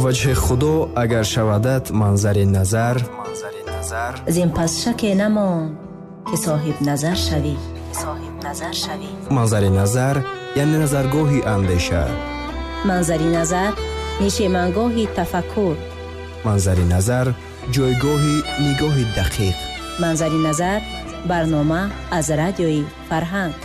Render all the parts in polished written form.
Ваҷҳи Худо агар шавадат манзари назар, зин пас шаке намонд ки соҳиб назар шавӣ. Манзари назар яъне назаргоҳи андеша. Манзари назар нишемангоҳи тафаккур. Манзари назар ҷойгоҳи нигоҳи дақиқ. Манзари назар барнома аз радиои Фарҳанг.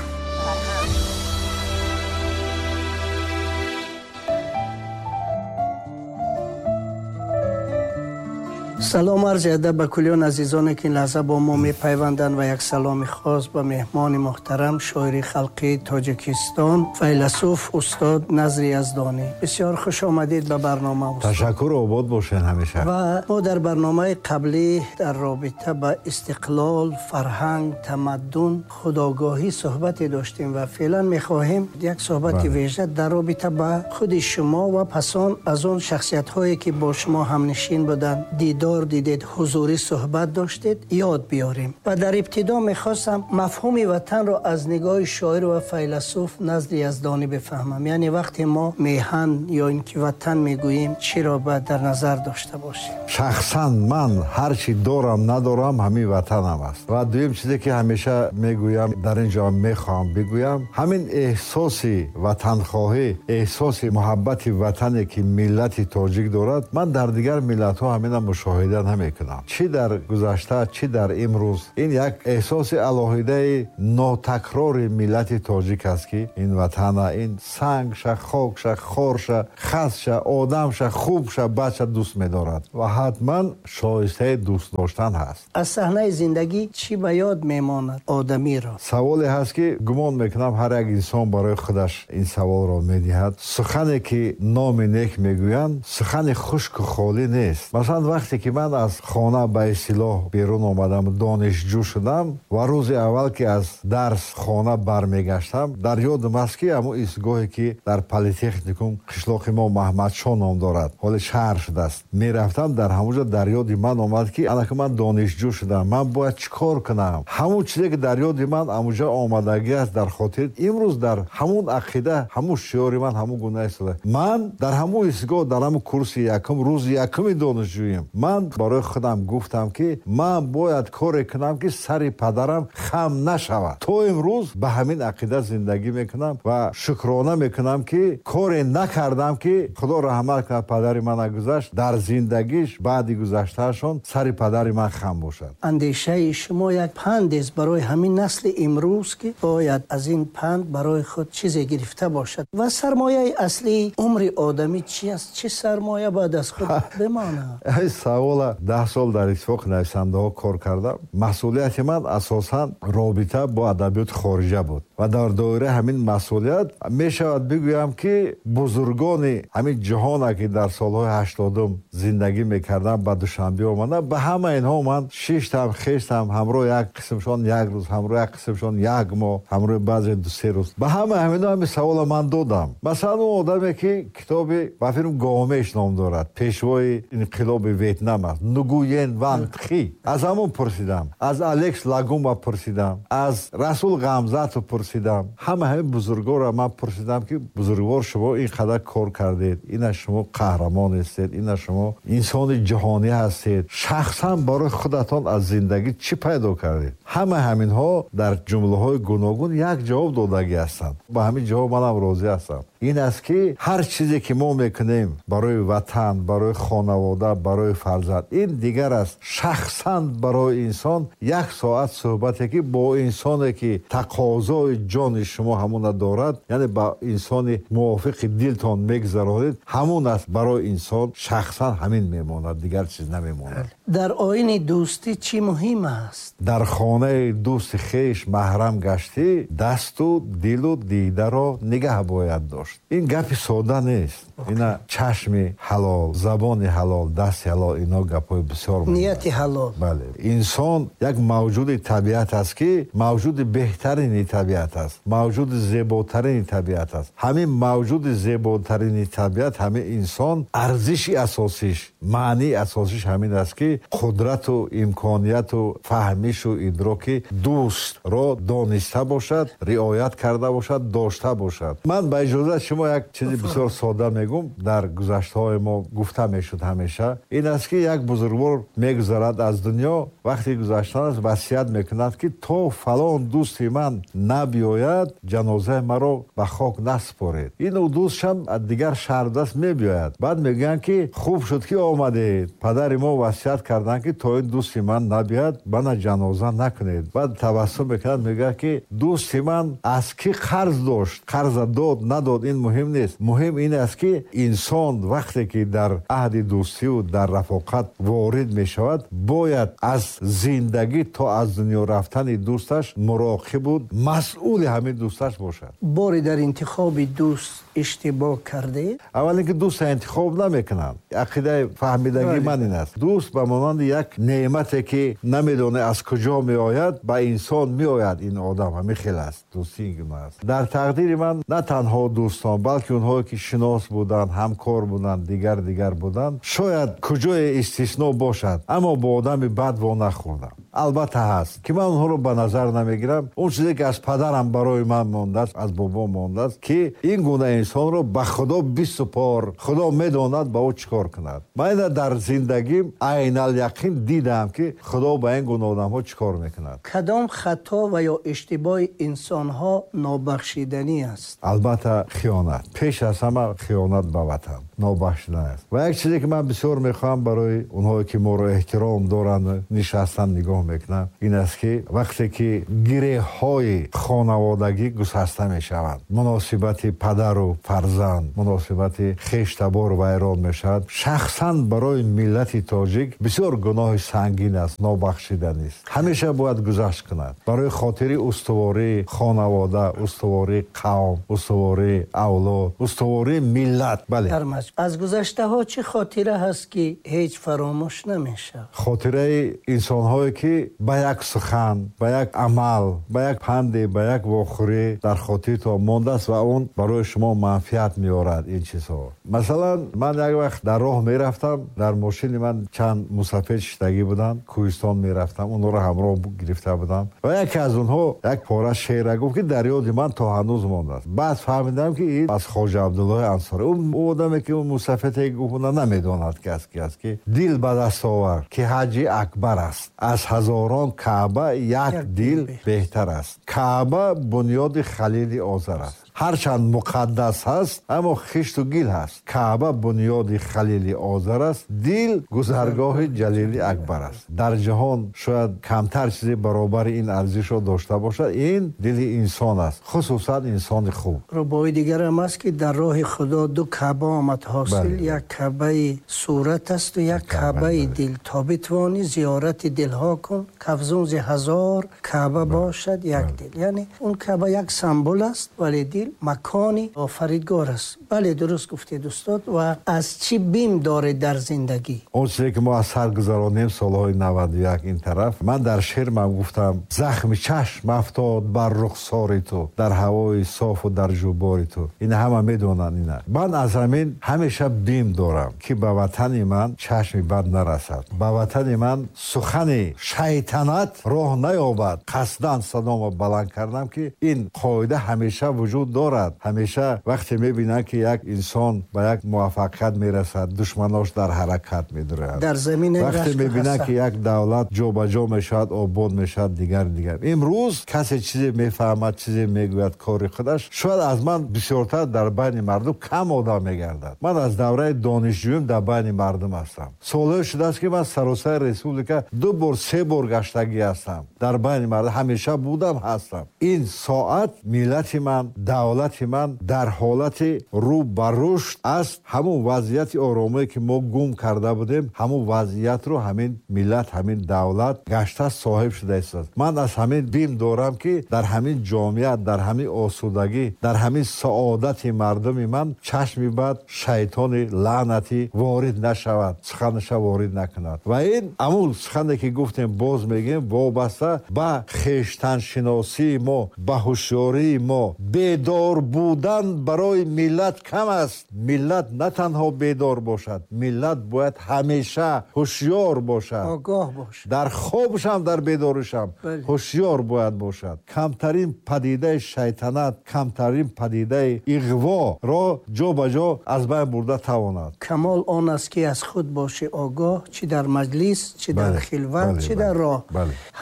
Салом арзи адаб ба кулли он азизоне ки ин лаҳза бо мо мепайванданд ва як саломи хос ба меҳмони муҳтарам, шоири халқии Тоҷикистон, файласуф устод Назри Яздонӣ. Бисёр хуш омадед ба барнома, устод. Ташаккур, обод бошед ҳамеша. Ва мо дар барномаи қаблӣ дар робита ба истиқлол, фарҳанг, тамаддун, худогоҳӣ суҳбате доштем ва феълан мехоҳем як суҳбати вижа дар робита ба худи шумо ва пас он аз он шахсиятҳое ки бо шумо ҳамнишин буданд, дидор дидед, ҳузурӣ суҳбат доштед, ёд биёрем. Ва дар ибтидо мехостам мафҳуми ватанро аз нигоҳи шоир ва файласуф Назри Яздонӣ бифаҳмам. Яъне вақте мо меҳан ё инки ватан мегӯем, чиро бояд дар назар дошта бошем? Шахсан ман ҳарчи дорам надорам, ҳамин ватанам аст. Ва дуюм чизе ки ҳамеша мегӯям, дар инҷо мехоҳам бигӯям, ҳамин эҳсоси ватанхоҳӣ, эҳсоси муҳаббати ватане ки миллати тоҷик дорад, ман дар дигар миллатҳо ҳамина мушоҳида намекунам. Чӣ дар гузашта, чӣ дар имрӯз, ин як эҳсоси алоҳидаи нотакрори миллати тоҷик аст ки ин ватана, ин сангша, хокша, хорша, хасша, одамша, хубша, бадша дӯст медорад ва ҳатман шоистаи дӯст доштан ҳаст. Аз саҳнаи зиндагӣ чӣ ба ёд мемонад одамиро? Саволе ҳаст ки гумон мекунам ҳар як инсон барои худаш ин саволро медиҳад. Сухане ки номи нек мегӯянд, сухани хушку холӣ нест. Масалан, вақте ки ман аз хона ба истилоҳ берун омадам, донишҷӯ шудам ва рӯзи аввал ки аз дарс хона бармегаштам, дар ёдам аст ки ҳамон истгоҳе ки дар политехникум қишлоқи мо Маҳмадшоҳ ном дорад, ҳоле шаҳр шудааст, мерафтам, дар ҳамон ҷо дар ёди ман омад ки анаки ман донишҷӯ шудам, ман бояд чӣ кор кунам. Ҳамон чизе ки дар ёди ман ҳамон ҷо омадагӣ аст дар хотир, имрӯз дар ҳамон ақида, ҳамон шиори ман ҳамон гуна истода. Ман дар ҳамон истгоҳ, дар ҳамон курси якум, рӯзи якуми донишҷӯем, ман барои худам гуфтам ки ман бояд коре кунам ки сари падарам хам нашавад. То имрӯз ба ҳамин ақида зиндагӣ мекунам ва шукрона мекунам ки коре накардам ки Худо раҳмат кунад падари мана гузашт, дар зиндагиш баъди гузаштаашон сари падари ман хам бошад. Андешаи шумо як панд аст барои ҳамин насли имрӯз ки бояд аз ин панд барои худ чизе гирифта бошад. Ва сармояи аслии умри одамӣ чи аст? Чӣ сармоя бояд аз худ бимонад? Ин савола 10 сол дар иттифоқи нависандаҳо кор кардам. Масъулияти ман асосан робита бо адабиёти хориҷа буд ва дар доираи ҳамин масъулият мешавад бигӯям ки бузургони ҳамин ҷаҳона ки дар солҳои 80 зиндагӣ мекарданд, ба Душанбе омаданд, ба ҳама инҳо ман шиштам, хештам, ҳамроҳ як қисмшон як рӯз, ҳамроҳ як қисмшон як моҳ, ҳамроҳ баъзе 2-3 рӯз. Ба ҳама ҳаминҳо ҳамин савола ман додам. Масалан, он одаме ки китоби ба филм Гомеш ном дорад, пешвои инқилоби Ветнам аст, Нгуен Ван Тхи, аз ҳамон пурсидам, аз Алекс Лагума пурсидам, аз Расул Ғамзатов пурсидам. Ҳама ҳамин бузургворро ман пурсидам ки бузургвор, шумо ин қадар кор кардед, ина шумо қаҳрамон ҳастед, ина шумо инсони ҷаҳонӣ ҳастед, шахсан барои худатон аз зиндагӣ чӣ пайдо кардед? Ҳама ҳаминҳо дар ҷумлаҳои гуногун як ҷавоб додагӣ ҳастанд. Ба ҳамин ҷавоб манам розӣ ҳастам. Ин аст ки ҳар чизе ки мо мекунем барои ватан, барои хонавода, барои фарзанд, ин дигар аст. Шахсан барои инсон як соат суҳбате ки бо инсоне ки тақозои ҷони шумо ҳамона дорад, яъне ба инсони мувофиқи дилтон мегузаронед, ҳамон аст барои инсон шахсан ҳамин мемонад, дигар чиз намемонад. Дар оини дӯстӣ чӣ муҳим аст? Дар хонаи дӯсти хеш маҳрам гаштӣ, дасту дилу дидаро нигаҳ бояд дошт. Ин гапи сода нест. Ина чашми ҳалол, забони ҳалол, дасти ҳалол, Инҳо гапҳои бисёр нияти ҳалол. Бале, инсон як мавҷуди табиат аст, ки мавҷуди беҳтарини табиат аст, мавҷуди зеботарини табиат аст. Ҳамин мавҷуди зеботарини табиат, ҳамин инсон, арзиши асосиш, маънии асосиш ҳамин аст, ки қудрату имконияту фаҳмишу идроки дӯстро дониста бошад, риоят карда бошад, дошта бошад. Ман ба иҷозат шумо як чизи бисёр сода мегӯм. Дар гузаштаҳои мо гуфта мешуд ҳамеша, ин аст, ки як бузургвор мегузарад аз дунё, вақти гузаштан аст, васият мекунад, ки то фалон дӯсти ман набиёяд, ҷанозаи маро ба хок наспоред. Ин дӯстшам аз дигар шаҳр даст мебиёяд. Баъд мегӯянд, ки хуб шуд, ки омадед, падари мо васият карданд, ки то ин дӯсти ман набиёяд, мана ҷаноза накунед. Баъд табассум мекунад, мегӯяд, ки дӯсти ман аз кӣ қарз дошт, қарза дод надод, ин муҳим нест. Муҳим ин аст, ки инсон вақте ки дар аҳди дӯстиву дар рафоқат ворид мешавад, бояд аз зиндагӣ то аз дунё рафтани дӯсташ муроқибу масъули ҳамин дӯсташ бошад. Боре дар интихоби дӯст иштибоҳ кардед? Аввал ин ки дӯста интихоб намекунанд. Ақидаи фаҳмидагии ман ин аст: дӯст ба монанди як неъмате, ки намедонӣ аз куҷо меояд, ба инсон меояд. Ин одам ҳамин хел аст, дӯстӣ ин гуна аст. Дар тақдири ман на танҳо дӯстон, балки онҳое ки шинос буданд, ҳамкор буданд, дигар дигар буданд, шояд куҷое истисно бошад, аммо бо одами бад во нахӯрдам. Албатта ҳаст, ки ман онҳоро ба назар намегирам. Он чизе ки аз падарам барои ман мондааст, аз бобо мондааст, ки ин гуна инсонро ба Худо бисупор, Худо медонад ба ӯ чӣ кор кунад. Ман ина дар зиндагим айналяқин дидам, ки Худо ба ин гуна одамҳо чӣ кор мекунад. Кадом хато ва ё иштибоҳи инсонҳо нобахшиданӣ аст? Албатта хиёнат, пеш аз ҳама хиёнат ба ватан нобахшиданӣ аст. Ва як чизе ки ман бисёр мехоҳам барои онҳое ки моро эҳтиром доранд, нишастан нигоҳ мекунанд, ин аст, ки вақте ки гиреҳҳои хонаводагӣ гусаста мешаванд, муносибати падару фарзанд, муносибати хештабор вайрон мешавад, шахсан барои миллати тоҷик бисёр гуноҳи сангин аст, нобахшиданист. Ҳамеша бояд гузашт кунад барои хотири устувории хонавода, устувории қавм, устувории авлод, устувории миллат. Бале. Аз гузаштаҳо чӣ хотира ҳаст, ки ҳеҷ фаромӯш намешавад? Хотираи инсонҳое, ки ба як сухан, ба як амал, ба як панде, ба як вохӯрӣ дар хотиртон мондааст ва он барои шумо манфиат меорад, ин чизҳо. Масалан, ман як вақт дар роҳ мерафтам, дар мошини ман чанд мусафир шиштагӣ буданд, кӯҳистон мерафтам, онҳоро ҳамроҳ гирифта будам ва яке аз онҳо як пора шеъра гуфт, ки дар ёди ман то ҳанӯз мондааст. Баъд фаҳмидам, ки ин аз Хоҷа Абдуллоҳи Ансорӣ. Ӯ одаме ки мусафире гуфт, намедонад ки аз ки аст, ки дил ба даст овар, ки ҳаҷи акбар аст, аз ҳазорон Каъба як дил беҳтар аст. Каъба бунёди Халили Озар аст, ҳарчанд муқаддас ҳаст, аммо хишту гил ҳаст. Каъба бунёди Халили Озар аст, дил гузаргоҳи Ҷалили Акбар аст. Дар ҷаҳон шояд камтар чизе баробари ин арзишро дошта бошад, ин дили инсон аст, хусусан инсони хуб. Рубои дигарам аст, ки дар роҳи Худо ду Каъба омад ҳосил, як Каъбаи сурат асту як Каъбаи дил. То битавонӣ зиёрати дилҳо кун, кафзун зи ҳазор Каъба бошад як дил. Яъне он Каъба як символ аст, вале дил макони офаридгор аст. Бале, дуруст гуфтед, устод. Ва аз чӣ бим доред дар зиндагӣ? Он чизе ки мо аз сар гузаронем солҳои 91 ин тараф, ман дар шеърмам гуфтам: захми чашм афтод бар рухсори ту, дар ҳавои софу дар ҷубори ту. Ин ҳама медонанд ина. Ман аз ҳамин ҳамеша бим дорам, ки ба ватани ман чашми бад нарасад, ба ватани ман сухани шайтанат роҳ наёбад. Қасдан садомо баланд кардам, ки ин қоида ҳамеша вуҷуд дорад. Ҳамеша вақте мебинанд, ки як инсон ба як муваффақият мерасад, душманош дар ҳаракат медуранд. Дар замина вақте мебинанд, ки як давлат ҷобаҷо мешавад, обод мешавад, дигар дигар. Имрӯз касе чизе мефаҳмад, чизе мегӯяд, кори худаш шояд аз ман бисёртар дар байни мардум кам одам мегардад. Ман аз давраи донишҷӯем дар байни мардум ҳастам. Солҳое шудааст, ки ман саросари республика ду бор, се бор гаштагӣ ҳастам, дар байни мардум ҳамеша будам, ҳастам. Ин соат миллати ман, Давлати ман дар ҳолати рӯ ба рушд аст. Ҳамун вазъияти оромие ки мо гум карда будем, ҳамун вазъиятро ҳамин миллат, ҳамин давлат гашта соҳиб шуда истодааст. Ман аз ҳамин бим дорам ки дар ҳамин ҷомеа, дар ҳамин осудагӣ, дар ҳамин саодати мардуми ман чашми бад, шайтони лаънатӣ ворид нашавад, суханаша ворид накунад. Ва ин ҳамун сухане ки гуфтем, боз мегӯем, вобаста ба хештаншиносии мо, ба ҳушёрии мо. Бедор будан барои миллат кам аст. Миллат на танҳо бедор бошад, миллат бояд ҳамеша ҳушёр бошад, огоҳ бошад, дар хобшам, дар бедоришам ҳушёр бояд бошад. Камтарин падидаи шайтанат, камтарин падидаи иғворо ҷо ба ҷо аз байн бурда тавонад. Камол он аст ки аз худ бошӣ огоҳ, чӣ дар маҷлис, чӣ дар хилват, чӣ дар роҳ.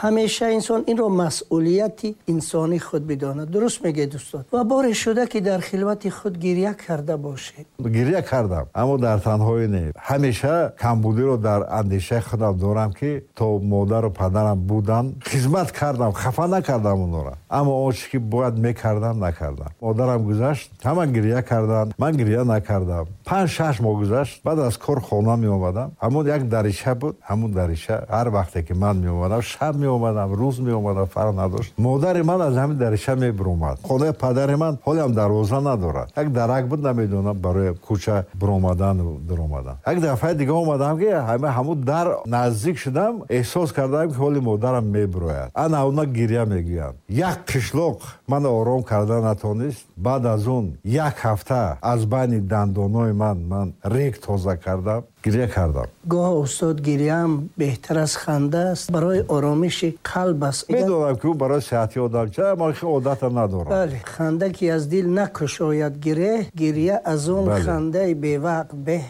Ҳамеша инсон инро масъулияти инсонии худ бидонад. Дуруст мегӯед устод. Ва боре шуда ки дар хилвати худ гиря карда бошед? Гиря кардам, аммо дар танҳоӣ не. Ҳамеша камбудиро дар андешаи худам дорам ки то модару падарам буданд хизмат кардам, хафа накардам онҳоро, аммо он чизе ки бояд мекардам накардам. Модарам гузашт, ҳама гиря карданд, ман гиря накардам. 5-6 моҳ гузашт, баъд аз кор хона меомадам. Ҳамон як дарича буд, ҳамон дарича ҳар вақте ки ман меомадам, шаб меомадам, рӯз меомадам, фарқ надошт. Модари ман аз ҳамин дарича мебуромад. Хонаи падари ман ҳолиам дарвоза надорад. Як дарак буд, намедонам барои кӯча буромадану дуромадан. Як дафъаи дига омадам ки ҳамун дар наздик шудам, эҳсос кардам ки ҳоли модарам мебурояд. Ана уна гиря мегӯянд. Як қишлоқ ман ором карда натонист. Баъд аз он як ҳафта аз байни дандонҳои ман рег тоза кардам, гиря кардам. Гоҳ устод, гиряам беҳтар аз ханда аст, барои оромиши қалб аст. Медонам ки ӯ барои сиҳати одам ча, аммо хеле одата надорам. Бале, ханда ки аз дил накушояд гиреҳ, гиря аз он хандаи бевақт беҳ.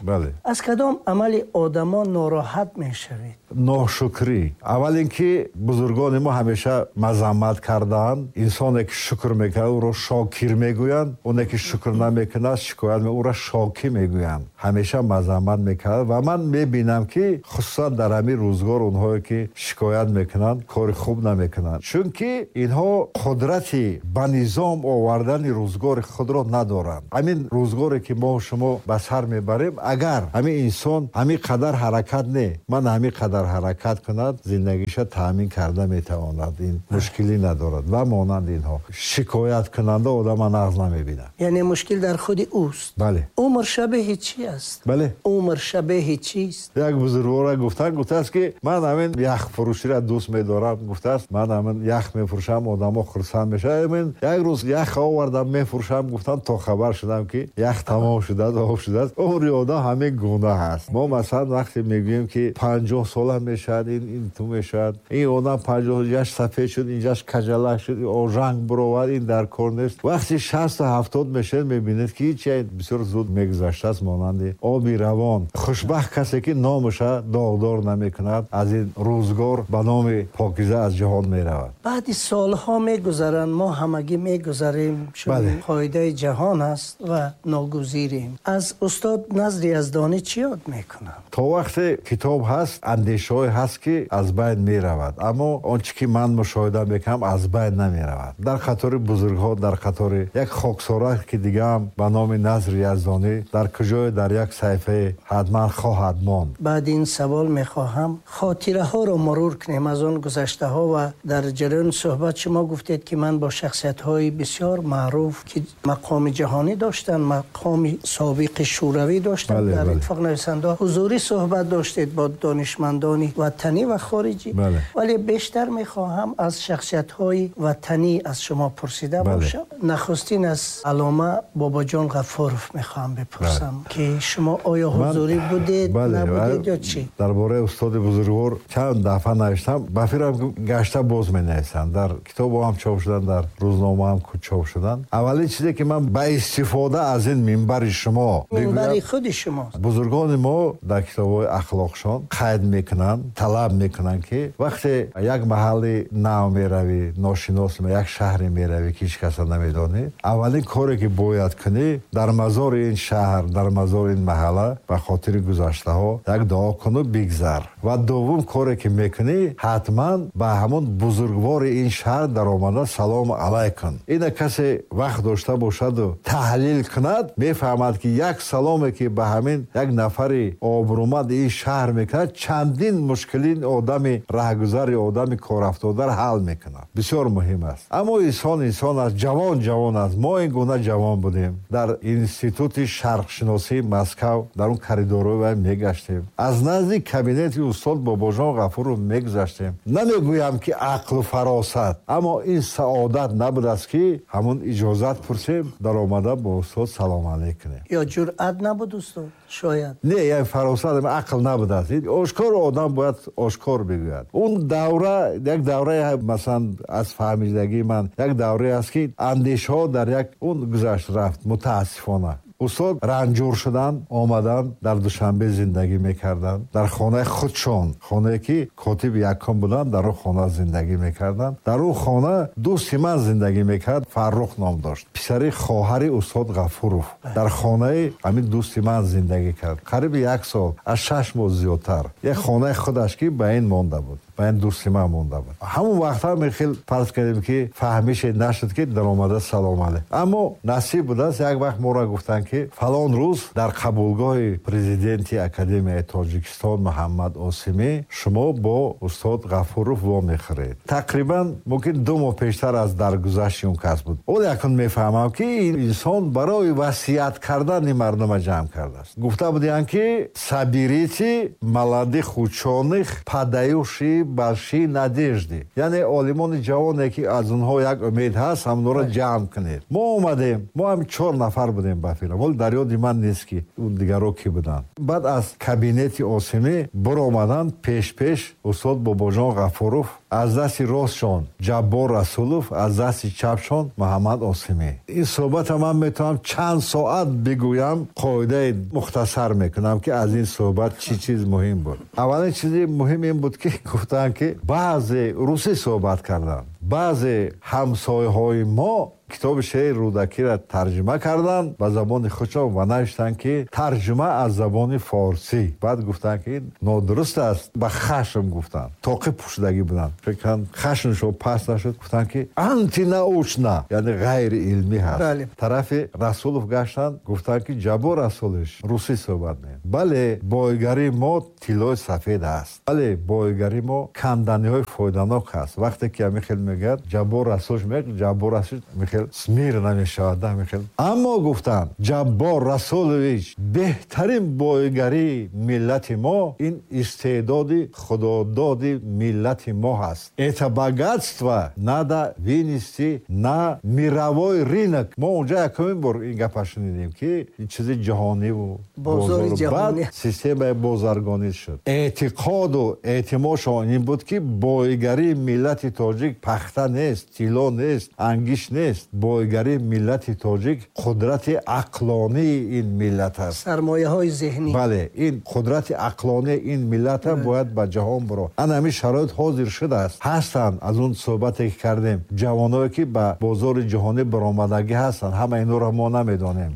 Аз кадом амали одамон нороҳат мешавед? Ношукрӣ. Аввал ин ки бузургони мо ҳамеша мазаммат кардаанд. Инсоне ки шукр мекунад, ӯро шокир мегӯянд. Оне ки шукр намекунад, шикоят мекунад, ӯро шокӣ мегӯянд. Ҳамеша мазаммат мекунад. Ва ман мебинам ки хусусан дар ҳамин рӯзгор онҳое ки шикоят мекунанд, кори хуб намекунанд, чунки инҳо қудрати ба низом овардани рӯзгори худро надоранд. Ҳамин рӯзгоре ки мо шумо ба сар мебарем, агар ҳамин инсон ҳамин қадар ҳаракат не, ман ҳамин қадар ҳаракат кунад, зиндагиша таъмин карда метавонад, ин мушкилӣ надорад. Ва монанд инҳо шикояткунанда одама нағз намебинад. Яъне мушкил дар худи ӯст. Бале. Умр шабеҳи чӣ аст? Бале. Умр шабеҳи чист? Як бузургвора гуфтааст ки ман ҳамин яхфурӯширо дӯст медорам. Гуфтааст ман ҳамин ях мефурӯшам, одамо хурсанд мешаванд. Як рӯз ях овардам мефурӯшам, гуфтам то хабар шудам ки ях тамом шудааст, об шудааст. Умри одам ҳамин гуна ҳаст. Мо масалан вақте мегӯем ки 50 сола мешавад, ин ту мешавад, ин одам 50 ҷаш сафед шуд, инҷаш каҷалак шуд, ожанг буровард, ин дар кор нест. Вақте 60-70 мешавед, мебинед ки ҳеҷ бисёр зуд мегузаштааст, монанди оби равон. Хушбахт касе ки номаша доғдор намекунад, аз ин рӯзгор ба номи покиза аз ҷаҳон меравад. Баъди солҳо мегузаранд, мо ҳамагӣ мегузарем, чун қоидаи ҷаҳон аст ва ногузирем. Аз устод Назри Яздонӣ чӣ ёд мекунам? То вақте китоб ҳаст, андешаҳое ҳаст ки аз байн меравад, аммо он чӣ ки ман мушоҳида мекунам аз байн намеравад. Дар қатори бузургҳо, дар қатори як хоксора ки дигаам ба номи Назри Яздонӣ дар куҷое дар як саҳифае ҳатман хоҳад монд. Баъд ин савол мехоҳам хотираҳоро мурур кунем аз он гузаштаҳо ва дар ҷараёни суҳбат шумо гуфтед ки ман бо шахсиятҳои бисёр маъруф ки мақоми ҷаҳонӣ доштанд, мақоми собиқи шӯравӣ доштанд, дар иттифоқ нависандаҳо ҳузурӣ суҳбат доштед бо донишмандони ватанӣ ва хориҷӣ. Вале бештар мехоҳам аз шахсиятҳои ватанӣ аз шумо пурсида бошам. Нахустин аз аллома Бобоҷон Ғафуров мехоҳам бипурсам ки шумо оё ҳузурӣ будед, набудед ё чӣ? Дар бораи устоди бузургвор чанд дафъа навиштам, ба фикрам гашта боз менависам. Дар китобҳо ҳам чоп шуданд, дар рӯзнома ҳам чоп шуданд. Аввалин чизе ки ман ба истифода аз ин минбари шумо, минбари худи шумо, бузургони мо дар китобҳои ахлоқшон қайд мекунанд, талаб мекунанд ки вақте як маҳалли нав меравӣ, ношинос, як шаҳре меравӣ ки ҳеҷ касро намедонӣ, аввалин коре ки бояд кунӣ дар мазори ин шаҳр, дар мазори ин маҳалла ба хотири ҳамин гузаштаҳо як дуо куну бигзар. Ва дуввум коре ки мекунӣ, ҳатман ба ҳамон бузургвори ин шаҳр даромада салому алайкум. Ина касе вақт дошта бошаду таҳлил кунад, мефаҳмад, ки як саломе ки ба ҳамин як нафари обрӯманд ин шаҳр мекунад, чандин мушкилин одами раҳгузари, одами корафтодаро ҳал мекунад. Бисёр муҳим аст. Аммо инсон инсон аст, ҷавон ҷавон аст. Мо ин гуна ҷавон будем. Дар Институти шарқшиносии Москав дар он коридорҳои вай мегаштем, аз назди кабинети устод Бобоҷон Ғафуров мегузаштем. Намегӯям ки ақлу фаросат, аммо ин саодат набудааст, ки ҳамон иҷозат пурсем, даромада бо устод салом алейк кунем. Ё ҷуръат набуд, устод, шояд? Не, я фаросат, ақл набудааст. Ошкор одам бояд ошкор бигӯяд. Он давра як давраи, масалан, аз фаҳмидагии ман як даврае аст, ки андешаҳо дар як он гузашт рафт. Мутаассифона, устод ранҷур шуданд, омаданд, дар Душанбе зиндагӣ мекарданд, дар хонаи худшон, хонае ки котиби якум буданд, дар он хона зиндагӣ мекарданд. Дар он хона дӯсти ман зиндагӣ мекард, Фаррух ном дошт, писари хоҳари устод Ғафуров. Дар хонаи ҳамин дӯсти ман зиндагӣ кард қариби як сол аз 6 моҳ зиёдтар. Як хонаи худаш ки ба ин монда буд, ба ин дӯсти ман монда буд. Ҳамон вақтҳа мехел фарз кардем, ки фаҳмише нашуд, ки даромада салом алейк. Аммо насиб будааст, як вақт моро гуфтанд, ки фалон рӯз дар қабулгоҳи президенти Академияи Тоҷикистон Муҳаммад Осимӣ шумо бо устод Ғафуров вомехӯред. Тақрибан мумкин 2 моҳ пештар аз даргузашти он кас буд. Ол якун мефаҳмам, ки ин инсон барои васият кардани мардума ҷамъ кардааст. Гуфта будиянд, ки «Соберите молодых ученых, подающие большие надежды», яъне олимони ҷавоне, ки аз онҳо як умед ҳаст, ҳамонро ҷамъ кунед. Мо омадем, мо ҳам чор нафар будем ба филм, вале дар ёди ман нест, ки дигаро кӣ буданд. Баъд аз кабинети Осимӣ биромаданд, пеш-пеш устод Бобоҷон Ғафуров, аз дасти ростшон Ҷаббор Расулов, аз дасти чапшон Муҳаммад Осимӣ. Ин суҳбата ман метавонам чанд соат бигӯям, қоидаи мухтасар мекунам, ки аз ин суҳбат чӣ чиз муҳим буд. Аввалин чизи муҳим ин буд, ки гуфтанд, ки баъзе русӣ суҳбат карданд, баъзе ҳамсояҳои мо китоби шеъри Рӯдакиро тарҷума карданд ба забони худшон ва навиштанд, ки тарҷума аз забони форсӣ. Баъд гуфтанд, ки нодуруст аст. Ба хашм гуфтанд, тоқӣ пӯшидагӣ буданд, фикран хашмшон паст нашуд, гуфтанд, ки антинаучно, яъне ғайриилмӣ ҳаст. Тарафи Расулов гаштанд, гуфтанд, ки Ҷаббор Расулович, русӣ суҳбат мекунем, бале, боигарии мо тиллои сафед аст, бале, боигарии мо канданиҳои фоиданок ҳаст. Вақте ки ҳамин хел мегӯяд Ҷаббор Расулович, мегӯяд Ҷаббор Расулович, михел смир намешавад, михел. Аммо гуфтанд, Ҷаббор Расулович, беҳтарин боигарии миллати мо ин истеъдоди худододи миллати мо ҳаст. Это богатство надо вынести на мировой рынок. Мо унҷа якумин бор ин гапа шунидем, ки ин чизи ҷаҳониву баъд системаи бозаргонӣ шуд. Эътиқоду эътимодшон ин буд, ки боигарии миллати тоҷик пахта нест, тилло нест, ангишт нест, боигарии миллати тоҷик қудрати ақлонии ин миллат аст. Сармояҳои зеҳнӣ. Бале, ин қудрати ақлонии ин миллата бояд ба ҷаҳон биро. Ана ҳамин шароит ҳозир шудааст. Ҳастанд, аз он суҳбате ки кардем, ҷавоное, ки ба бозори ҷаҳонӣ баромадагӣ ҳастанд. Ҳама инҳоро мо намедонем,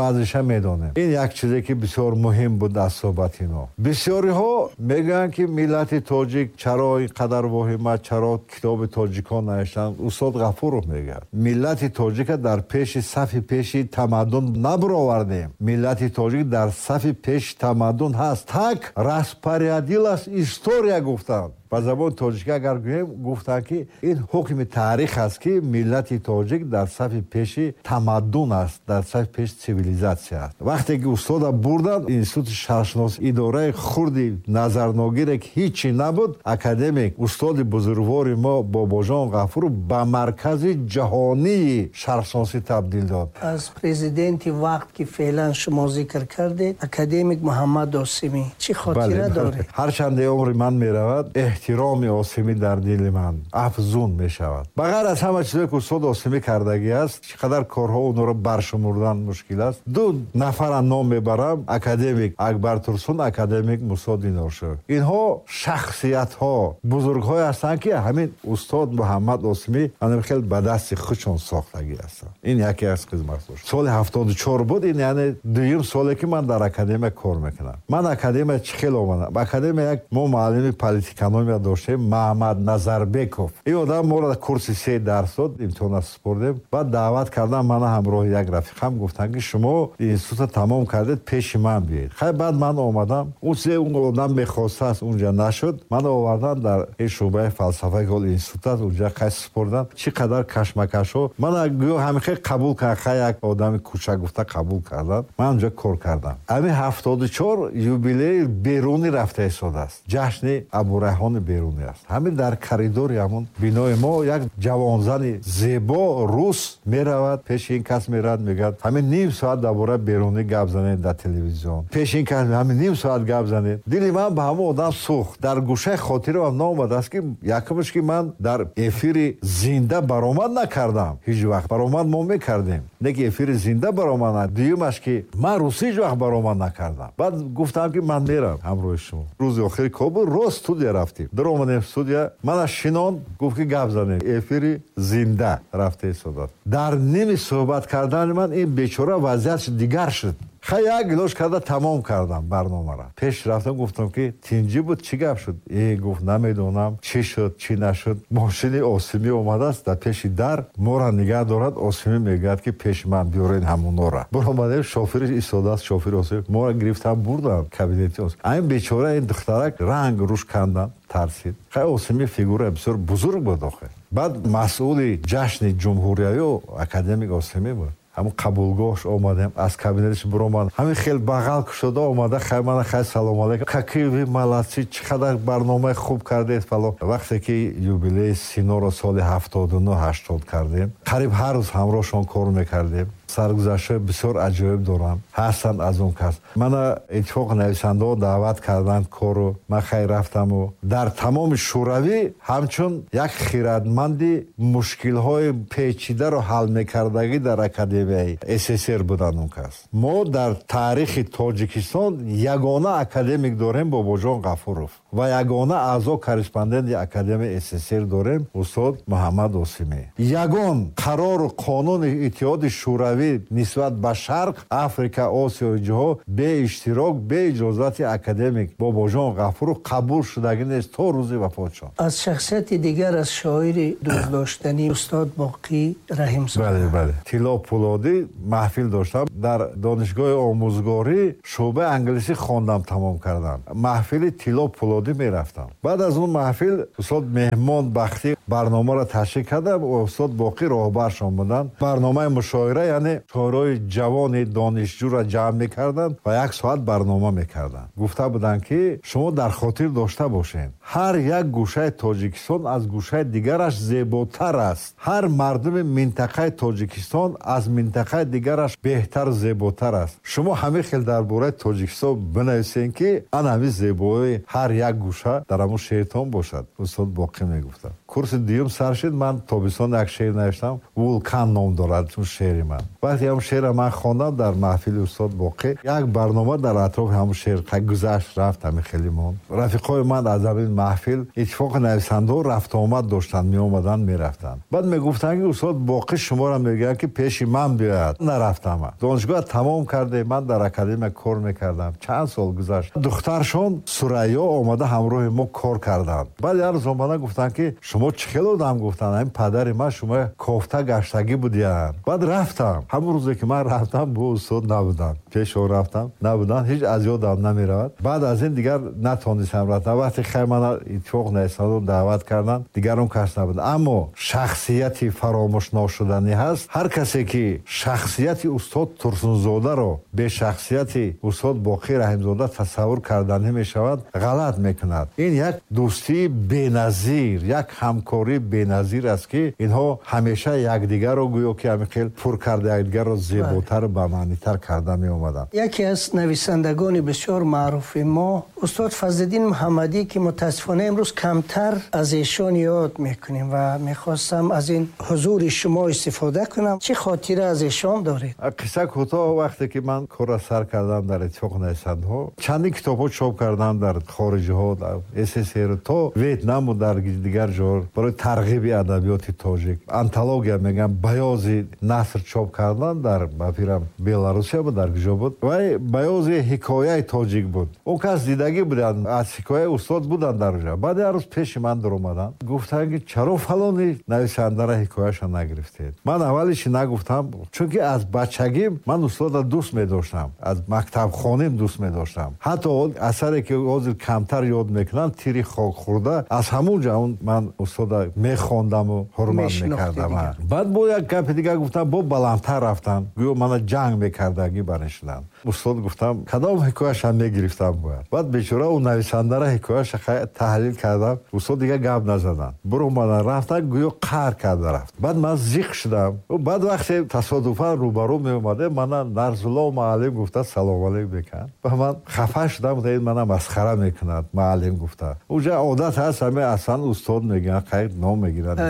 баъзеша медонем. Ин як чизе, ки бисёр муҳим буд аз суҳбати мо. Бисёриҳо мегӯянд, ки миллати тоҷик чаро ин қадар воҳима, чаро китоби тоҷикон навиштанд. Устод Ғафуров мегӯяд: миллати тоҷика дар пеши сафи пеши тамаддун набаровардем, миллати тоҷик дар сафи пеши тамаддун ҳаст. Так распорядилась история, гуфтанд. Ба забони тоҷикӣ агар гӯем, гуфтанд, ки ин ҳукми таърих аст, ки миллати тоҷик дар сафи пеши тамаддун аст, дар сафи пеши цивилизатсия аст. Вақте ки устода бурданд Институти шарқшинос, идораи хурди назарногире, ки ҳичи набуд, академик, устоди бузургвори мо Бобоҷон Ғафуров ба маркази ҷаҳонии шарқшиносӣ табдил дод. Аз президенти вақт, ки феълан шумо зикр кардед, академик Муҳаммад Осимӣ, чӣ хотира доред? Ҳарчанде умри ман меравад. Эҳтироми Осимӣ дар дили ман афзун мешавад. Ба ғайр аз ҳама чизое ки устод Осимӣ кардагӣ аст, чӣ қадар корҳо онҳоро баршумурдан мушкил аст. Ду нафара ном мебарам: академик Акбар Турсун, академик Мусо Диноршоев. Инҳо шахсиятҳо, бузургҳое ҳастанд, ки ҳамин устод Муҳаммад Осимӣ ана хел ба дасти худшон сохтагӣ ҳастанд. Ин яке аз хизматҳош. Соли 74 буд, ин яъне дуюм соле ки ман дар академия кор мекунам. Ман академия чӣ хел омадам? Академия як мо муаллими политэкономия доштем, Маҳмад Назарбеков. Ин одам моро курси се дарс дод, имтиҳона супурдем. Баъд даъват кардам мана ҳамроҳи як рафиқам, гуфтанд ки шумо института тамом кардед, пеши ман биёед. Хай, баъд ман омадам. Он чизе он одам мехостааст, унҷа нашуд. Ман овардан дар ин шӯъбаи фалсафа, ки ҳол институт аст, унҷа қай супурдан. Чӣ қадар кашмакашҳо. Мана гӯё ҳамин хел қабул кард, хай як одами кӯчак гуфта қабул кардан. Ман унҷа кор кардам. Ҳамин 74 юбилеи Берунӣ рафта истодааст. Ҷашни Абурайҳони Берунӣ аст. Ҳамин дар коридори ҳамон бинои мо як ҷавонзани зебо рус меравад, пеши ин кас меравад, мегӯяд ҳамин ним соат дар бораи Берунӣ гап занед дар телевизион. Пеши ин кас ҳамин ним соат гап занед. Дили ман ба ҳамон одам сӯхт. Дар гӯшаи хотирам наомадааст ки якумаш ки ман дар эфири зинда баромад накардам. Ҳеҷ вақт баромад мо мекардем, не ки эфири зинда баромад накардам. Дуюмаш ки ман русӣ ҳеҷ вақт баромад накардам. Баъд гуфтам ки ман мерам ҳамроҳи шумо. Рӯзи охири кор буд, рост студия рафтем. Даромадем студия, мана шинон, гуфт ки гап занем. Эфири зинда рафта истодааст. Дар ними суҳбат кардани ман ин бечора вазъиятш дигар шуд. Хай, як гилош карда тамом кардам барномаро. Пеш рафтам, гуфтам ки тинҷӣ буд, чӣ гап шуд? Гуфт намедонам чӣ шуд, чӣ нашуд. Мошини Осимӣ омадааст дар пеши дар, моро нигаҳ дорад. Осимӣ мегӯяд ки пеши ман биёред ҳамонора. Баромадем, шофери истодааст, шофери Осимӣ. Моро гирифтан бурдан кабинети Осимӣ. Ҳамин бечора ин духтарак ранг рӯш кандан, тарсид. Хай, Осимӣ фигура бисёр бузург буд охир. Баъд масъули ҷашни ҷумҳуриявӣ академик Осимӣ буд. Ҳамон қабулгоҳш омадем, аз кабинетش биромад, ҳамин хел бағал кушода омада, хай мана хай салом алейкум, какие вы молодцы, чӣ қадар барномаи хуб кардед фалон. Вақте ки юбилеи Синоро соли 79-80 кардем, қариб ҳар рӯз ҳамроҳшон кор мекардем. Саргузаштҳои бисёр аҷоиб дорам, ҳастанд аз он кас. Мана иттифоқи нависандаҳо даъват карданд кору, ман хай рафтаму дар тамоми Шӯравӣ ҳамчун як хирадманди мушкилҳои печидаро ҳал мекардагӣ дар академияи СССР буданд он кас. Мо дар таърихи Тоҷикистон ягона академик дорем, Бобоҷон Ғафуров, ва ягона аъзо корреспонденти академияи СССР дорем, устод Муҳаммад Осимӣ. Ягон қарору қонуни Иттиҳоди Шӯравӣ нисбат ба Шарқ, Африка, Осиёи ҷоҳо бе иштирок, бе иҷозати академик Бобоҷон Ғафуров қабул шудагӣ нест то рӯзи вафотшон. Аз шахсияти дигар, аз шоири дӯстдоштанӣ устод Боқӣ Раҳимзода. Бале, бале. Тилло Пулодӣ маҳфил доштам дар донишгоҳи омӯзгорӣ, шӯъбаи англисӣ хондам, тамом кардам. Маҳфили Тилло Пулодӣ мерафтам. Баъд аз он маҳфил устод Меҳмон Бахтӣ барномаро ташкил кардам, устод Боқӣ роҳбаршон буданд. Барномаи мушоира, яъне шоирои ҷавони донишҷӯро ҷамъ мекарданд ва як соат барнома мекарданд. Гуфта буданд ки шумо дар хотир дошта бошед, ҳар як гӯшаи Тоҷикистон аз гӯшаи дигараш зеботар аст, ҳар мардуми минтақаи Тоҷикистон аз минтақаи дигараш беҳтар, зеботар аст. Шумо ҳамин хел дар бораи Тоҷикистон бинависед ки ана ҳамин зебоии ҳар як гӯша дар ҳамон шеъртон бошад. Устод Боқӣ мегуфтанд. Курси дуюм сар шуд, ман тобистон як шеър навиштам, Вулкан ном дорад он шеъри ман. Вақте ҳамон шеърро ман хондам дар маҳфили устод Боқӣ, як барнома дар атрофи ҳамон шеър гузашт, рафт, ҳамин хеле монд. Рафиқҳои ман аз ҳамин маҳфил иттифоқи нависандаҳо рафтуомад доштанд, меомаданд, мерафтанд. Баъд мегуфтанд ки устод Боқӣ шуморо мегӯяд ки пеши ман биёяд. Нарафтам. Донишгоҳ тамом кардем, ман дар академия кор мекардам. Чанд сол гузашт. Духтаршон Сурайё омада ҳамроҳи мо кор карданд. Баъд як рӯз омада гуфтанд ки шумо чӣ хел одам, гуфтанд, ҳамин падари ман шумо кофта гаштагӣ будиянд. Баъд рафтам. Ҳамон рӯзе ки ман рафтам, бо устод набуданд. Пеш о рафтам, набуданд, ҳеҷ аз ёдам намеравад. Баъд аз ин дигар натонистам рафтам. Вақте хай мана иттифоқ нависандаҳо даъват карданд, дигар он кас набуд. Аммо шахсияти фаромӯш ношуданӣ ҳаст. Ҳар касе ки шахсияти устод Турсунзодаро бе шахсияти устод Боқӣ Раҳимзода тасаввур карданӣ мешавад, ғалат мекунад. Ин як дӯстии беназир, як ҳамкории беназир аст, ки инҳо ҳамеша якдигарро гӯё ки ҳамин хел пур карда, якдигарро зеботар ва бамаънитар карда меомаданд. Яке аз нависандагони бисёр маъруфи мо устод Фазлиддин Муҳаммадӣ, ки мутаассифона имрӯз камтар аз эшон ёд мекунем ва мехостам аз ин ҳузури шумо истифода кунам. Чӣ хотира аз эшон доред? Қисса кӯтоҳ, вақте ки ман корро сар кардам дар Иттифоқи нависандаҳо, чандин китобҳо чоп кардам дар хориҷиҳо, дар СССР то Ветнаму дар дигар ҷо барои тарғиби адабиёти тоҷик. Антология мегӯям, баёзи наср чоп кардан дар ба фикрам Беларусия буд, дар куҷо буд, вай баёзи ҳикояи тоҷик буд. Он кас дидагӣ буданд, аз ҳикояи устод буданд дар оҷа. Баъд як рӯз пеши ман дуромаданд, гуфтанд, ки чаро фалони нависандара ҳикояша нагирифтед? Ман аввалиши нагуфтам, чунки аз бачагим ман устодро дӯст медоштам, аз мактабхоним дӯст медоштам. Ҳатто асаре ки ҳозир камтар ёд мекунанд, Тири хокхӯрда, аз ҳамун ҷо ман устода мехондаму ҳурмат мекардам. Баъд бо як гапи дигар гуфтам, бо баландтар рафтам, гӯё мана ҷанг мекардагӣ барнишудам. Устод, гуфтам, кадом ҳикояша мегирифтам бояд? Баъд бечора ӯ нависандара ҳикояша таҳлил кардам, устод дигар гап назаданд, биромадан рафтан, гӯё қаҳр карда рафт. Баъд ман зиқ шудам. Баъд вақте тасодуфан рӯбарӯ меомадем, мана Нарзулло муаллим гуфта салом алейк мекард ва ман хафа шудам, ин мана масхара мекунад муаллим гуфта. Уҷа одат ҳаст, ҳаме аслан устод мегӯянд, қайд ном мегиранд.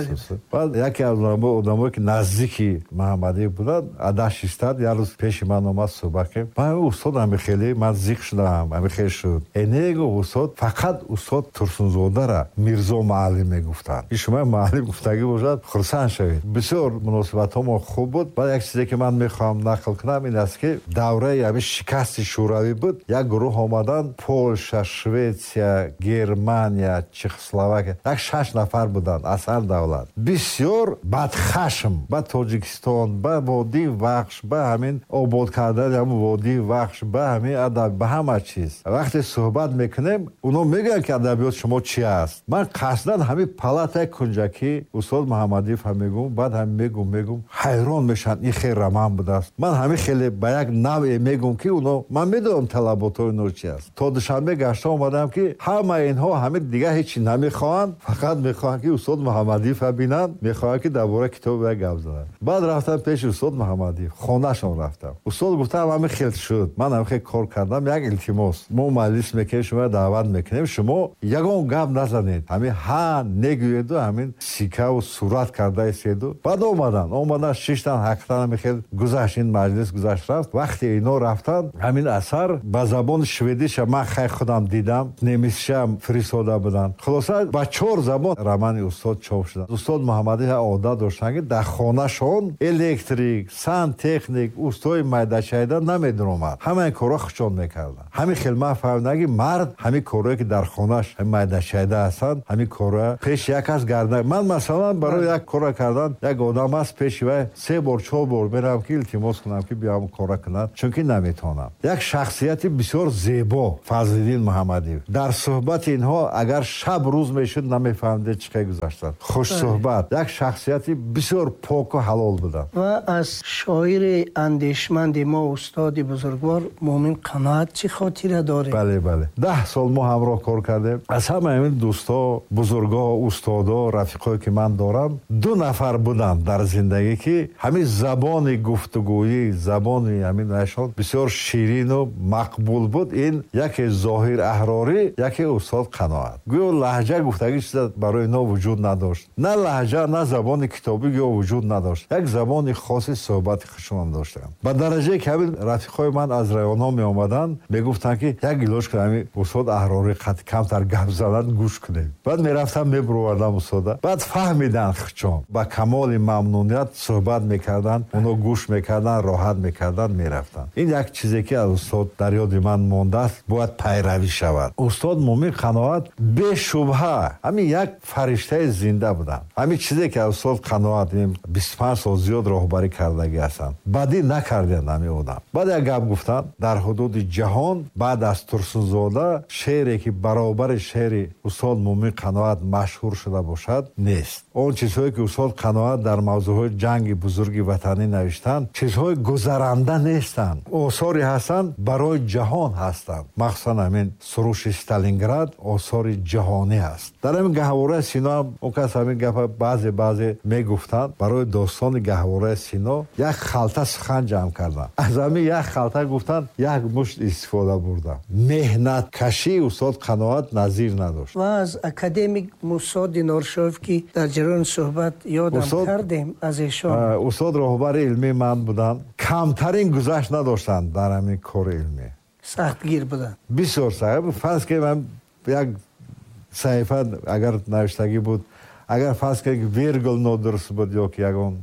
Баъд яке аз одамое ки наздики Муҳаммадиев буданд, адаш истад, як рӯз пеши ман омад, суҳбат кардем. Ман устод ҳами хеле ман зиқ шудам, ҳами хел шуд. Э не, гуфт устод, фақат устод Турсунзодара Мирзо муаллим мегуфтанд. И шумо муаллим гуфтагӣ бошад, хурсанд шавед. Бисёр муносибатҳомо хуб буд. Баъд як чизе ки ман мехоҳам нақл кунам ин аст, ки давраи ҳамин шикасти шӯравӣ буд, як гурӯҳ омаданд, Полша, Шветсия, Германия, Чехословакия, як шаш нафар буданд аз ҳар давлат, бисёр бадхашм ба Тоҷикистон, ба водии Вахш, ба ҳамин обод кардани ҳамин водии Вахш, ба ҳамин адаб, ба ҳама чиз. Вақте суҳбат мекунем, оно мегӯянд, ки адабиёт шумо чи аст. Ман қасдан ҳамин палатаи кунҷакӣ устод Муҳаммадиев ҳам мегӯм, баъд ҳам мегӯм, ҳайрон мешаванд, ин хел роман будааст. Ман ҳамин хеле ба як навъе мегӯм, ки оно, ман медонам талаботҳои оно чи аст. То Душанбе гашта омадам, ки ҳамаи инҳо ҳамин дигар ҳечи намехоҳанд, фақат мехоҳанд, ки устод Муҳаммадиевро бинанд, мехоҳанд, ки дар бораи китоби як гап зананд. Баъд рафтам пеши устод Муҳаммадиев, хонашон рафтам. Устод, гуфтам, ҳамин хел шуд, ман ҳамин хел кор кардам, як илтимос, мо маҷлис мекунем, шуморо даъват мекунем, шумо ягон гап назанед, ҳамин ҳа негӯеду ҳамин сикаву сурат карда иседу. Баъд омадан, шиштан, ҳақиқатан ҳамин хел гузашт, ин маҷлис гузашт, рафт. Вақте ино рафтанд, ҳамин асар ба забони шведиша ман хай худам дидам, немисиша фиристода буданд. Хулоса, ба чор забон романи устод чоп шуданд. Устод Муҳаммадӣ одат доштанд, ки дар хонашон электрик, сантехник, устои майдачайда намедуромад, ҳамаи корро худшон мекарданд. Ҳамин хел ман фаҳмидам, ки мард ҳамин корҳое ки дар хонаш майдачайда ҳастанд, ҳамин корро пеши як кас гарда. Ман масалан барои як корро кардан як одам аст, пеши вай се бор, чор бор меравам, ки илтимос кунам, ки биям корро кунад, чунки наметавонам. Як шахсияти бисёр зебо Фазлиддин Муҳаммадиев. Дар суҳбати инҳо агар шаб рӯз мешуд, намефаҳмидед чӣ қадр гузаштанд. Хушсуҳбат, як шахсияти бисёр поку ҳалол буданд. Ва аз шоири андешманди мо устоди бузургвор Муъмин Қаноат чӣ хотира доред? Бале, 10 сол мо ҳамроҳ кор кардем. Аз ҳама ҳамин дӯстҳо, бузургҳо, устодо, рафиқое ки ман дорам, ду нафар буданд дар зиндагӣ, ки ҳамин забони гуфтугӯӣ, забони ҳамин ашон бисёр ширину мақбул буд. Ин яке Зоҳир Аҳрорӣ, яке устод Қаноат. Гӯё лаҳҷа гуфтагӣ чиза барои инҳо вуҷуд надошт, на лаҳҷа, на забони китобӣ гӯё вуҷуд надошт. Як забони хоси суҳбати худшонам доштанд, ба дараҷае ки ҳамин рафиқҳои ман аз районҳо меомаданд, мегуфтанд, ки як илоҷ кун, ҳамин устод Аҳрорӣ қад камтар гап занад, гӯш кунем. Баъд мерафтам, мебуровардам устода. Баъд фаҳмиданд, худшон ба камоли мамнуният суҳбат мекарданд, оно гӯш мекарданд, роҳат мекарданд, мерафтанд. Ин як чизе ки аз устод дар ёди ман мондааст, бояд пайравӣ шавад. Устод Муъмин Қаноат бешубҳа ҳамин як фариштаи зинда буданд. Ҳамин чизе ки аз устод Қаноат 25 сол зиёд роҳбарӣ кардагӣ ҳастанд, бадӣ накарданд ҳамин одам. Баъд як Гап гуфтанд, дар ҳудуди ҷаҳон баъд аз Турсунзода шеъре ки баробари шеъри устод Мӯмин Қаноат машҳур шуда бошад нест. Он чизҳое ки устод Қаноат дар мавзӯъҳои ҷанги бузурги ватанӣ навиштанд, чизҳои гузаранда нестанд, осоре ҳастанд барои ҷаҳон ҳастанд. Махсусан ҳамин суруши Сталинград осори ҷаҳонӣ аст. Дар ҳамин Гаҳвораи Сино ҳам он кас ҳамин гапа баъзе баъзе мегуфтанд. Барои достони Гаҳвораи Сино як халта сухан ҷамъ карданд. Аз ҳамин як халта гуфтанд як мушт истифода бурданд. Меҳнаткашии устод Қаноат назир надошт. Ва аз академик Мусо Диноршоев ки дар ҷараёни суҳбат ёдам кардем аз эшон. Устод роҳбари илмии ман буданд. Камтарин гузашт надоштанд дар ҳамин кори илмӣ. Сахтгир буданд. Бисёр сахт. Фарз кунем ҳам як саҳифа агар навиштагӣ буд, агар фарз кунем вергул нодуруст буд ё ки ягон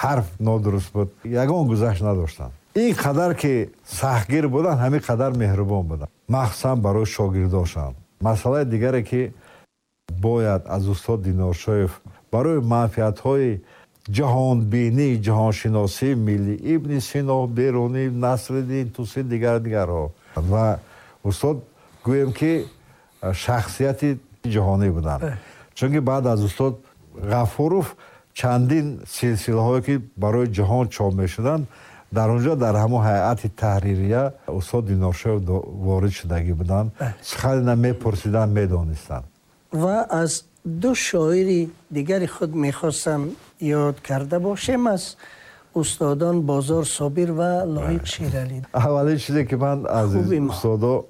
ҳарф нодуруст буд, ягон гузашт надоштанд. Ин қадар ки сахтгир буданд, ҳамин қадар меҳрубон буданд, махсусан барои шогирдошон. Масъалаи дигаре ки бояд аз устод Диноршоев барои манфиатҳои ҷаҳонбинӣ, ҷаҳоншиносии миллӣ, Ибни Сино, Берунӣ, Насриддин Тусӣ, дигар дигарҳо. Ва устод гӯем ки шахсияти ҷаҳонӣ буданд. Чунки баъд аз устод Ғафуров чандин силсилаҳое ки барои ҷаҳон чоп мешуданд, дар онҷо дар ҳамон ҳайати таҳририя устод Диноршоев ворид шудагӣ буданд. Суханина мепурсиданд, медонистанд. Ва аз ду шоири дигари худ мехостам ёд карда бошем, аз устодон Бозор Собир ва Лоиқ Шералӣ. Аввалин чизе ки ман аз устодо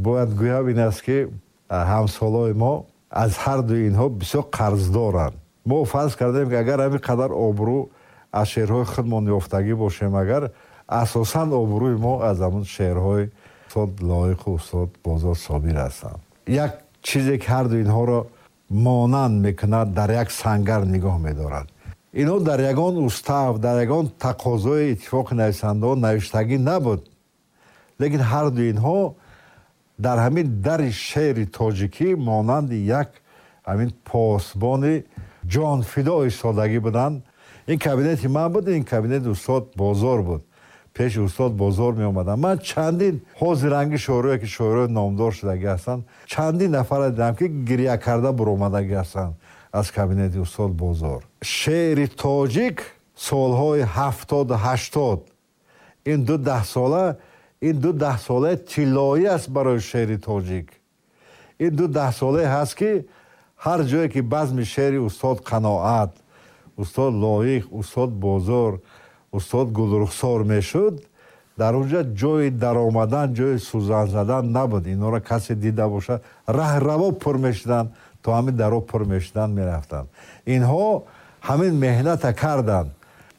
бояд гӯям ин аст ки ҳамсолои мо аз ҳар дуи инҳо бисёр қарздоранд. Мо фарз кардем ки агар ҳамин қадар обрӯ аз шеърҳои худмон ёфтагӣ бошем, агар асосан обрӯи мо аз ҳамон шеърҳои устод Лоиқу устод Бозор Собир ҳастанд. Як чизе ки ҳар дуи инҳоро монанд мекунад, дар як сангар нигоҳ медорад. Инҳо дар ягон устав, дар ягон тақозои иттифоқи нависандаҳо навиштагӣ набуд, лекин ҳар дуи инҳо дар ҳамин дари шеъри тоҷикӣ монанди як ҳамин посбони ҷонфидо истодагӣ буданд. Ин кабинети ман буд, ин кабинети устод Бозор буд. Пеши устод Бозор меомадам. Ман чандин ҳозиранги шоирое ки шоирои номдор шудагӣ ҳастанд, чандин нафарро дидам ки гиря карда буромадагӣ ҳастанд аз кабинети устод Бозор. Шеъри тоҷик солҳои 70-80, ин ду даҳсола, ин ду даҳсолаи тиллоӣ аст барои шеъри тоҷик. Ин ду даҳсолае ҳаст ки ҳар ҷое ки базми шеъри устод Қаноат, устод Лоиқ, устод Бозор, устод Гулрухсор мешуд, дар онҷа ҷои даромадан, ҷои сӯзан задан набуд. Инҳоро касе дида бошад, раҳраво пур мешуданд, то ҳамин даро пур мешуданд, мерафтанд. Инҳо ҳамин меҳната карданд.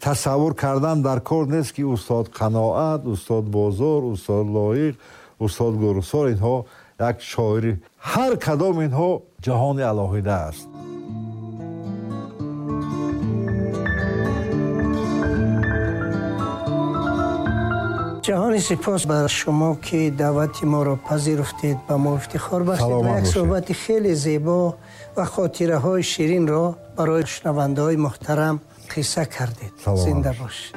Тасаввур кардан дар кор нест ки устод Қаноат, устод Бозор, устод Лоиқ, устод Гулрухсор инҳо як шоири, ҳар кадом инҳо ҷаҳони алоҳида аст. Ҷаҳони сипос бар шумо ки даъвати моро пазируфтед, ба мо ифтихор бахшид ва як суҳбати хеле зебо ва хотираҳои ширинро барои шунавандаҳои муҳтарам қисса кардед. Зинда бошед.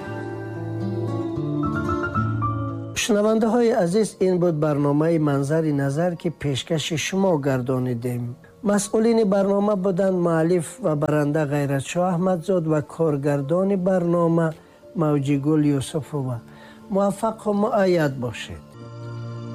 Шунавандаҳои азиз, ин буд барномаи Манзари назар ки пешкаши шумо гардонидем. Масъулини барнома буданд муаллиф ва баранда Ғайратшоҳ Аҳмадзод ва коргардони барнома Мавҷигул Юсуфова. Муваффақ ва муайяд бошед.